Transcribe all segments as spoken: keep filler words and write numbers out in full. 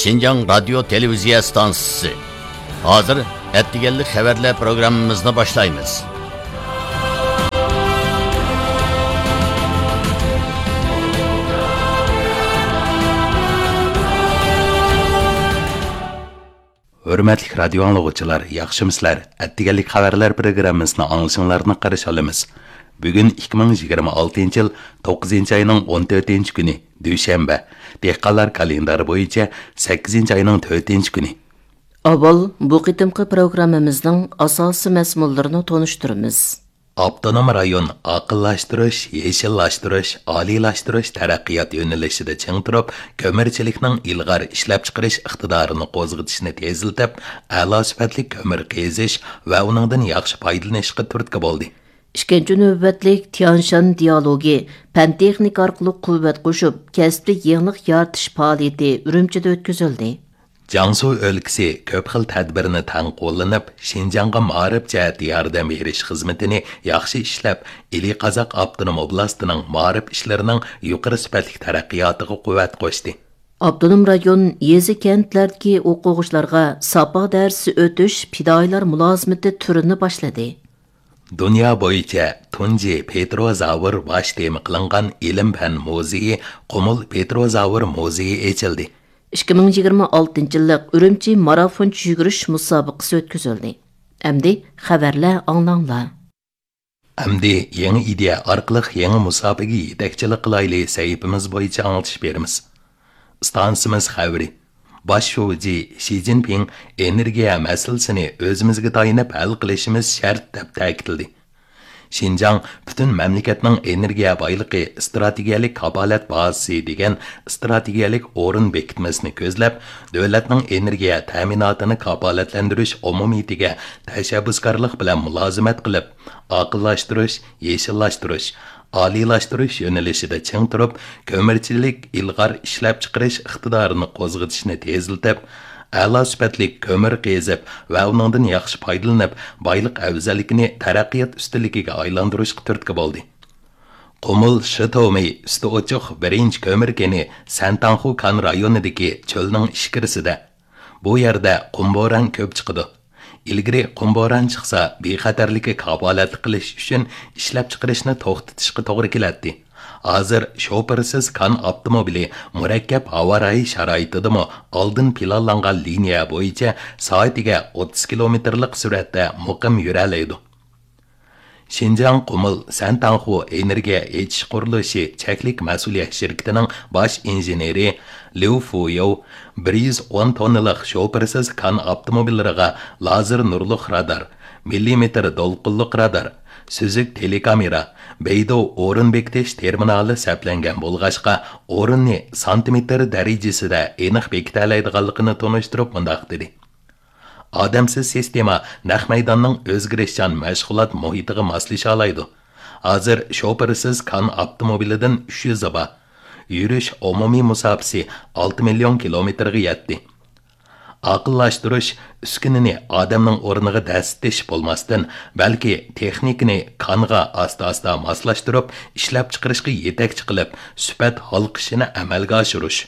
شىنجاڭ رادىيو تېلېۋىزىيە ئىستانسىسى. ھازىر ئەتىگەنلىك خەۋەرلەر پروگراممىمىزنى باشلايمىز. ھۆرمەتلىك رادىيو ئاڭلىغۇچىلار، ياخشىمۇسىلەر؟ ئەتىگەنلىك خەۋەرلەر پروگراممىسىنى ئاڭلىشىڭلارنى قارشى ئالىمىز. بۈگۈن ئىككى مىڭ يىگىرمە ئالتىنچى يىل توققۇزىنچى ئاينىڭ ئون تۆتىنچى كۈنى، دۈشەنبە. دېھقانلار كالېندارى بويىچە سەككىزىنچى ئاينىڭ تۆتىنچى كۈنى. ئاۋۋال بۇ قېتىمقى پروگراممىمىزنىڭ ئاساسىي مەزمۇنلىرىنى تونۇشتۇرىمىز. ئاپتونوم رايون ئاقىللاشتۇرۇش، يېشىللاشتۇرۇش، ئالىيلاشتۇرۇش تەرەققىيات يۆنىلىشىدە چىڭ تۇرۇپ، كۆمۈرچىلىكنىڭ ئىلغار ئىشلەپچىقىرىش ئىقتىدارىنى قوزغىتىشنى تېزلىتىپ، ئەلا سۈپەتلىك كۆمۈر قېزىش ۋە ئۇنىڭدىن ياخشى پايدىلىنىشقا تۈرتكە بولدى. ئىككىنچى نۆۋەتلىك تيانشان دىيالوگى پەن-تېخنىكا ئارقىلىق قۇۋۋەت قوشۇپ، كەسىپلىك يېڭىلىق يارىتىش پائالىيىتى ئۈرۈمچىدە ئۆتكۈزۈلدى. جياڭسۇ ئۆلكىسى كۆپ خىل تەدبىرنى تەڭ قوللىنىپ، شىنجاڭغا مائارىپ جەھەتتە ياردەم بېرىش خىزمىتىنى ياخشى ئىشلەپ، ئىلى قازاق ئاپتونوم ئوبلاستىنىڭ مائارىپ ئىشلىرىنىڭ يۇقىرى سۈپەتلىك تەرەققىياتىغا قۇۋۋەت قوشتى. ئاپتونوم رايون يېزا-كەنتلەردىكى ئوقۇغۇچىلارغا ساپا دەرسى ئۆتۈش پىدائىيلار مۇلازىمىتى تۈرىنى باشلىدى. دۇنيا بويىچە تۇنجى پېتروزاۋر باش تېما قىلىنغان ئىلىم-پەن مۇزېيى، قۇمۇل پېتروزاۋر مۇزېيى ئېچىلدى. ئىككى مىڭ يىگىرمە ئالتىنچى يىللىق ئۈرۈمچى مارافونچە يۈگۈرۈش مۇسابىقىسى ئۆتكۈزۈلدى. ئەمدى خەۋەرلەر ئاڭلاڭلار. ئەمدى يېڭى ئىدىيە ئارقىلىق يېڭى مۇسابىقىگە يېتەكچىلىك قىلايلى سەھىپىمىز بويىچە ئاڭلىتىش بېرىمىز. ئىستانسىمىز خەۋىرى. باش شۇجى شى جىنپىڭ ئېنېرگىيە مەسىلىسىنى ئۆزىمىزگە تايىنىپ ھەل قىلىشىمىز شەرت، دەپ تەكىتلىدى. شىنجاڭ پۈتۈن مەملىكەتنىڭ ئېنېرگىيە بايلىقى ئىستراتېگىيەلىك كاپالەت بازىسى دېگەن ئىستراتېگىيەلىك ئورۇن بېكىتمىسىنى كۆزلەپ، دۆلەتنىڭ ئېنېرگىيە تەمىناتىنى كاپالەتلەندۈرۈش ئومۇمىيىتىگە تەشەببۇسكارلىق بىلەن مۇلازىمەت قىلىپ، ئاقىللاشتۇرۇش، يېشىللاشتۇرۇش، ئالىيلاشتۇرۇش يۆنىلىشىدە چىڭ تۇرۇپ، كۆمۈرچىلىك ئىلغار ئىشلەپچىقىرىش ئىقتىدارىنى قوزغىتىشنى تېزلىتىپ، ئەلا سۈپەتلىك كۆمۈر قېزىپ ۋە ئۇنىڭدىن ياخشى پايدىلىنىپ، بايلىق ئەۋزەللىكىنى تەرەققىيات ئۈستۈنلۈكىگە ئايلاندۇرۇشقا تۈرتكە بولدى. قۇمۇل شىتومى ئۈستى ئوچۇق بىرىنچى كۆمۈر كېنى سەنتاڭخۇ كان رايونىدىكى چۆلنىڭ ئىچكىرىسىدە. بۇ يەردە قۇم بوران كۆپ چىقىدۇ. ئىلگىرى قۇم بوران چىقسا، بىخەتەرلىككە كاپالەتلىك قىلىش ئۈچۈن ئىشلەپچىقىرىشنى توختىتىشقا توغرا كېلەتتى. ھازىر شوپۇرسىز كان ئاپتوموبىلى مۇرەككەپ ھاۋا رايى شارائىتىدىمۇ ئالدىن پىلانلانغان لىنىيە بويىچە سائىتىگە ئوتتۇز كىلومېتىرلىق سۈرئەتتە مۇقىم يۈرەلەيدۇ. شىنجاڭ قۇمۇل سەنتاڭخۇ ئېنېرگىيە ئېچىش قۇرۇلۇشى چەكلىك مەسئۇلىيەت شىركىتىنىڭ باش ئىنژېنېرى ليۇ فۇيوۋ بىر يۈز ئون توننىلىق شوپۇرسىز كان ئاپتوموبىللىرىغا لازېر نۇرلۇق رادار، مىللىمېتىر دولقۇنلۇق رادار، سۈزۈك تېلېكامېرا، بەيدۇ ئورۇن بېكىتىش تېرمىنالى سەپلەنگەن بولغاچقا، ئورۇننى سانتىمېتىر دەرىجىسىدە ئېنىق بېكىتەلەيدىغانلىقىنى تونۇشتۇرۇپ مۇنداق دېدى. ئادەمسىز سىستېما نەق مەيداننىڭ ئۆزگىرىشچان مەشغۇلات مۇھىتىغا ماسلىشالايدۇ. ھازىر شوپۇرسىز كان ئاپتوموبىلىدىن ئۈچ يۈزى بار. يۈرۈش ئومۇمىي مۇساپىسى ئالتە مىليون كىلومېتىرغا يەتتى. ئاقىللاشتۇرۇش ئۈسكۈنىنى ئادەمنىڭ ئورنىغا دەسسىتىش بولماستىن، بەلكى تېخنىكىنى كانغا ئاستا-ئاستا ماسلاشتۇرۇپ، ئىشلەپچىقىرىشقا يېتەكچى قىلىپ، سۈپەت ھالقىشىنى ئەمەلگە ئاشۇرۇش.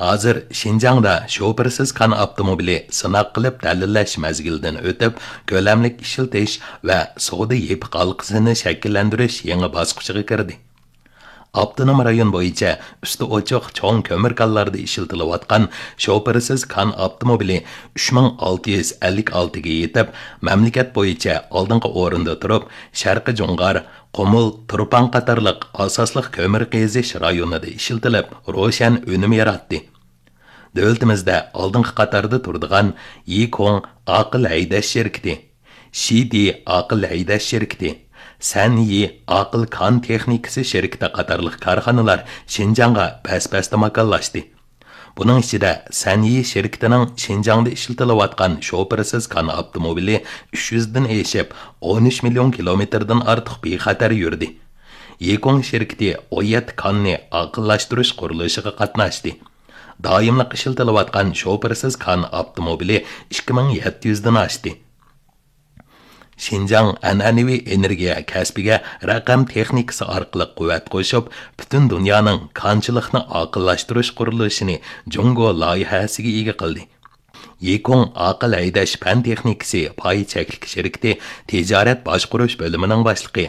ھازىر شىنجاڭدا شوپۇرسىز كان ئاپتوموبىلى سىناق قىلىپ دەلىللەش مەزگىلىدىن ئۆتۈپ، كۆلەملىك ئىشلىتىش ۋە سودا يېپىق ھالقىسىنى شەكىللەندۈرۈش يېڭى باسقۇچىغا كىردى. ئاپتونوم رايون بويىچە ئۈستى ئوچۇق چوڭ كۆمۈر كانلاردا ئىشلىتىلىۋاتقان شوپۇرسىز كان ئاپتوموبىلى ئۈچ مىڭ ئالتە يۈز ئەللىك ئالتىگە يېتىپ، مەملىكەت بويىچە ئالدىنقى ئورۇندا تۇرۇپ، شەرقىي جۇڭغار، قۇمۇل، تۇرپان قاتارلىق ئاساسلىق كۆمۈر قېزىش رايونىدا ئىشلىتىلىپ، روشەن ئۈنۈم ياراتتى. دۆلىتىمىزدە ئالدىنقى قاتاردا تۇرىدىغان يىكوڭ ئاقىل ھەيدەش شىركىتى، شىدى ئاقىل ھەيدەش شىركىتى، سەنيى ئاقىل كان تېخنىكىسى شىركىتى قاتارلىق كارخانىلار شىنجاڭغا بەس-بەستە ماكانلاشتى. بۇنىڭ ئىچىدە سەنيى شىركىتىنىڭ شىنجاڭدا ئىشلىتىلىۋاتقان شوپۇرسىز كان ئاپتوموبىلى ئۈچ يۈزدىن ئېشىپ، ئون ئۈچ مىليون كىلومېتىردىن ئارتۇق بىخەتەر يۈردى. يىكوڭ شىركىتى ئون يەتتە كاننى ئاقىللاشتۇرۇش قۇرۇلۇشىغا قاتناشتى. دائىملىق ئىشلىتىلىۋاتقان شوپۇرسىز كان ئاپتوموبىلى ئىككى مىڭ يەتتە يۈزدىن ئاشتى. شىنجاڭ ئەنئەنىۋى ئېنېرگىيە كەسپىگە رەقەم تېخنىكىسى ئارقىلىق قۇۋۋەت قوشۇپ، پۈتۈن دۇنيانىڭ كانچىلىقنى ئاقىللاشتۇرۇش قۇرۇلۇشىنى جۇڭگو لايىھەسىگە ئىگە قىلدى. يىكۇڭ ئاقىل ھەيدەش پەن تېخنىكىسى پاي چەكلىك شىركىتى تىجارەت باشقۇرۇش بۆلۈمىنىڭ باشلىقى